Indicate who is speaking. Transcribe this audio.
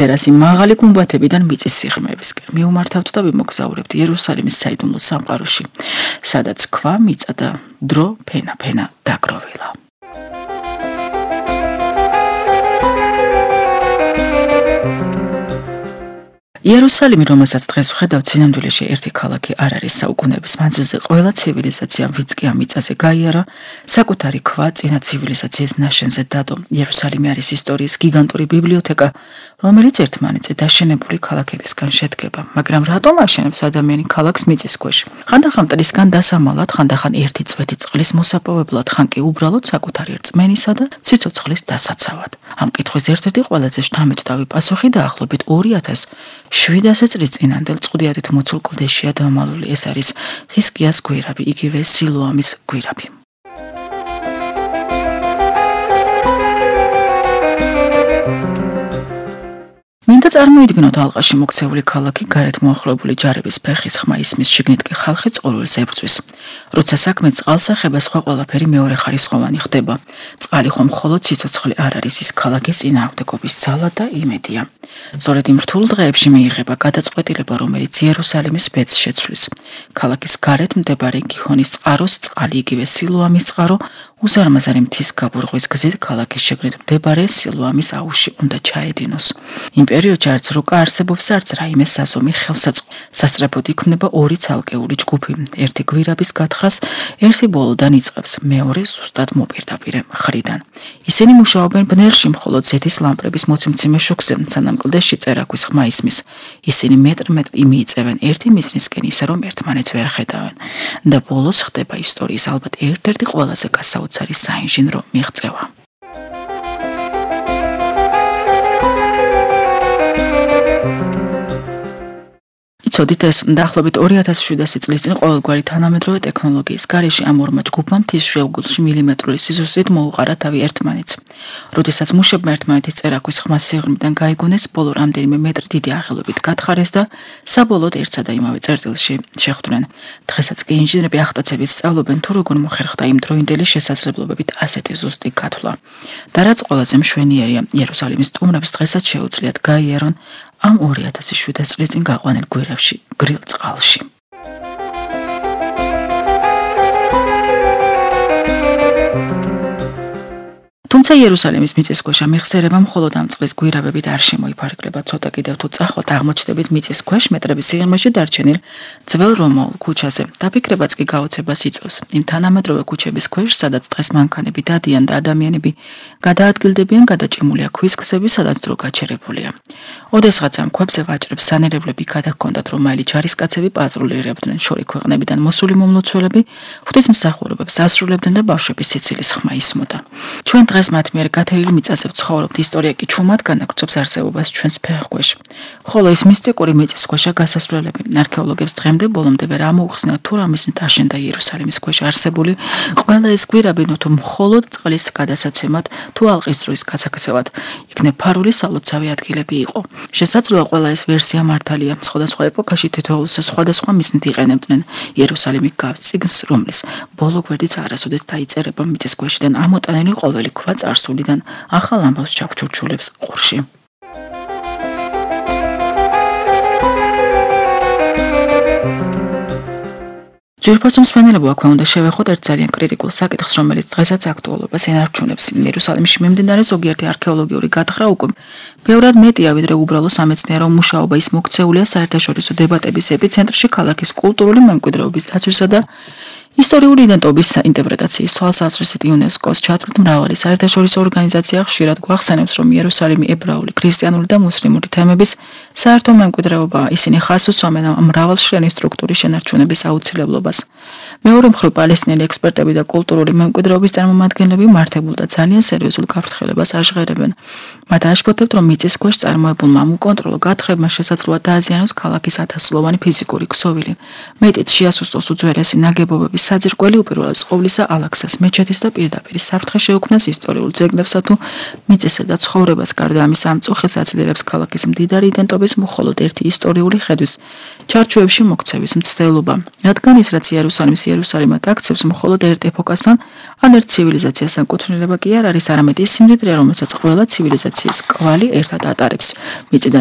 Speaker 1: ერასი მაღალი გუმბათებიდან მიწის სიღრმეებისკენ მიუმართავთ და ვიმოგზაურებთ იერუსალიმის საიდუმლო სამყაროში, სადაც ქვა, მიწა და დრო ფენა დაგროვილა. იერუსალიმი, რომელსაც დღეს ვხედავთ, სინამდვილეში ერთი ქალაქი არ არის. საუკუნეების მანძილზე ყველა ცივილიზაციამ ვიწყია მიწაზე გაიარა, საკუთარი ქვა წინა ცივილიზაციის ნაშენზე დადო. იერუსალიმი არის ისტორიის გიგანტური ბიბლიოთეკა, რომელიც ერთმანეთზე დაშენებული ქალაქებისგან შედგება. მაგრამ რატომ აშენებს ადამიანი ქალაქს მიწის ქვეშ? ხანდახან მტრისგან დასამალად, ხანდახან ერთი წვეთი წყლის მოსაპოვებლად, ხან კი უბრალოდ საკუთარი რწმენისა და სიცოცხლის დასაცავად. ამ კითხვის ერთ-ერთი ყველაზე შთამბეჭდავი პასუხი დაახლოებით 2700 წლის წინანდელ წყვდიადით მოცულ კლდეშია დამალული. ეს არის ხიზკიას გვირაბი, იგივე სილოამის გვირაბი. მინდა წარმოიდგინოთ ალყაში მოქცეული ქალაქი, გარეთ მოახლოებული ჯარების ფეხის ხმა ისმის, შიგნით კი ხალხი წყურვილს ებრძვის. როცა საქმე წყალსახება, სხვა ყველაფერი მეორეხარისხოვანი ხდება. წყალი ხომ მხოლოდ სიცოცხლე არ არის, ის ქალაქის წინააღმდეგობის ძალა და იმედია. სწორედ იმ რთულ დღეებში მიიღება გადაწყვეტილება, რომელიც იერუსალიმის ბედს შეცვლის. ქალაქის გარეთ მდებარე გიჰონის წყაროს წყალი, იგივე სილოამის წყარო, უზარმაზარი მთის გაბურღვის გზით ქალაქის შიგნით მდებარე სილოამის აუზში უნდა ჩაედინოს. იმ პერიოდში არც რუკა არსებობს, არც რაიმე საზომი ხელსაწყო. სასწრაფოდ იქმნება ორი ცალკეული ჯგუფი. ერთი გვირაბის გათხრას ერთი ბოლოდან იწყებს, მეორე ზუსტად მოპირდაპირე მხრიდან. ისინი მუშაობენ ბნელში, მხოლოდ ზეთის ლამპრების მოცემციმე შუქზე, სანამ კლდეში წერაქვის ხმა ისმის. ისინი მეტრი მიიწევენ ერთი მიზნისკენ, ისე რომ ერთმანეთს ვერ ხედავენ. და ბოლოს ხდება ისტორიის ალბათ ერთ-ერთი ყველაზე გასაოცარი საინჟინრო მიღწევა. იცოდით, ეს დაახლოებით 2700 წლის წინ ყოველგვარი თანამედროვე ტექნოლოგიის გარეშე ამ ორმა ჯგუფმა მთის შუაგულში მილიმეტრული სიზუსტით მოუყარა თავი ერთმანეთს. როდესაც მუშებმა ერთმანეთის წერაქვის ხმა სიღრმიდან გაიგონეს, ბოლო რამდენიმე მეტრი დიდი აღელობით გათხარეს და საბოლოოდ ერთსა და იმავე წერტილში შეხვდნენ. დღესაც კი ინჟინრები ახტაცებით სწავლობენ, თუ როგორ მოხერხდა იმ დროინდელი შესაძლებლობებით ასეთი ზუსტი გათვლა. და რაც ყველაზე მშვენიერია, იერუსალიმის სტუმრებს დღესაც შეუძლიათ გაიარონ ამ 2700 წლის წინ გაყვანილ გვირაბში, გრილ წყალში. თუმცა იერუსალიმის მიწისქვეშა მიხსერება მხოლოდ ამ წყლის გვირაბებით არ შემოიფარგლება. ცოტა კიდევ თუ წახვალთ აღმოჩნდებით მიწისქვეშ მეტრების სიღრმეში დარჩენილ ძველ რომაულ ქუჩაზე. დაფიქრებაც კი გაოცებას იწვევს. იმ თანამედროვე ქუჩების ქვეშ, სადაც დღეს მანქანები დადიან და ადამიანები გადაადგილდებიან, გადაჭიმულია ქვის გზები, სადაც დრო გაჩერებულია. ოდესღაც ამ ქვებზე ვაჭრებს სანერებლები გადაჰქონდათ, რომ მაილი ჯარისკაცები პატრულირებდნენ, შორი ქვეყნებიდან მოსული მომლოცველები ღვთისმსახურებებს ასრულებდნენ და ბავშვების სიცილის ხმა ისმოდა. ჩვენ დღეს მათ მიერ გათელილი მიწაზე ვცხოვრობთ, ისტორია კი ჩუმად განაგრძობს არსებობას ჩვენს ფეხქვეშ. ხოლო ის მისტიკური მიწისქვეშა გასასვლელები არქეოლოგებს დღემდე ბოლომდე ვერ ამოუხსნათ, თუ რა მიზნით აშენდა იერუსალიმის ქვეშ არსებული ყველა ეს გვირაბი, თუ მხოლოდ წყლის გადასაცემად, თუ ალყის დროის გასაქცევად იქნებ ფარული სალოცავი ადგილები იყო. შესაძლოა ყველა ეს ვერსია მართალია. სხვადასხვა ეპოქაში თითოეულს სხვადასხვა მიზნით იყენებდნენ. იერუსალიმი გავს წიგნს, რომლის ბოლო გვერდიც არასოდეს დაიწერება მიწისქვეშიდან ამოტანილი ყოველი ქვა წარსულიდან ახალ ამბავს ჩაფჩურჩულებს ყურში. ძვირფასო მსმენელებო, აქვე უნდა შევეხოთ ერთ ძალიან კრიტიკულ საკითხს, რომელიც დღესაც აქტუალობას ენარჩუნებს. იერუსალიმში მიმდინარე ზოგიერთი არქეოლოგიური გათხრა უკვე ბევრად მეტია, ვიდრე უბრალო სამეცნიერო მუშაობა. ის მოქცეულია საერთაშორისო დებატების ეპიცენტრში, ქალაქის კულტურული მემკვიდრეობის დაცვისა და ისტორიული იდენტობის ინტერპრეტაციის თვალსაზრისით იუნესკოს ჩათვლით მრავალი საერთაშორისო ორგანიზაცია ხშირად გვახსენებს, რომ იერუსალიმი ებრაული, ქრისტიანული და მუსლიმური თემების საერთო მემკვიდრეობაა. ისინი ხაზს უსვამენ მრავალშრიანი სტრუქტურის შენარჩუნების აუცილებლობას. მეორე მხრივ, პალესტინელი ექსპერტები და კულტურული მემკვიდრეობის წარმომადგენლები მართებულ და ძალიან სერიოზულ გაფრთხილებას აშღერებენ. მათ აშფოთებთ, რომ მიწისქვეშ წარმოებულმა უკონტროლო გათხრებმა შესაძლოა დააზიანოს ქალაქის ათასწლოვანი ფიზიკური ქსოვილი, მეტიც შეასუსტოს უძველესი ნაგებობების მიწის საძირკველი უპირველეს ყოვლისა ალაქსას მეჩეთის და პირდაპირ საფრთხე შეუქმნას ისტორიულ ძეგლებსა თუ მიწისა და ცხოვრებას. გარდა ამისა, ამ წუხილს აცილირებს ქალაქის მდიდარი იდენტობის მხოლოდ ერთი ისტორიული ხედვის ჩარჩოებში მოქცევის მცდელობა, რადგან ის რაც იერუსალიმად აქცევს მხოლოდ ერთ ეპოქასთან ან ერთ ცივილიზაციასთან კუთვნილება კი არ არის, არამედ ის სიმდიდრე, რომელსაც ყველა ცივილიზაციის კვალი ერთად ატარებს.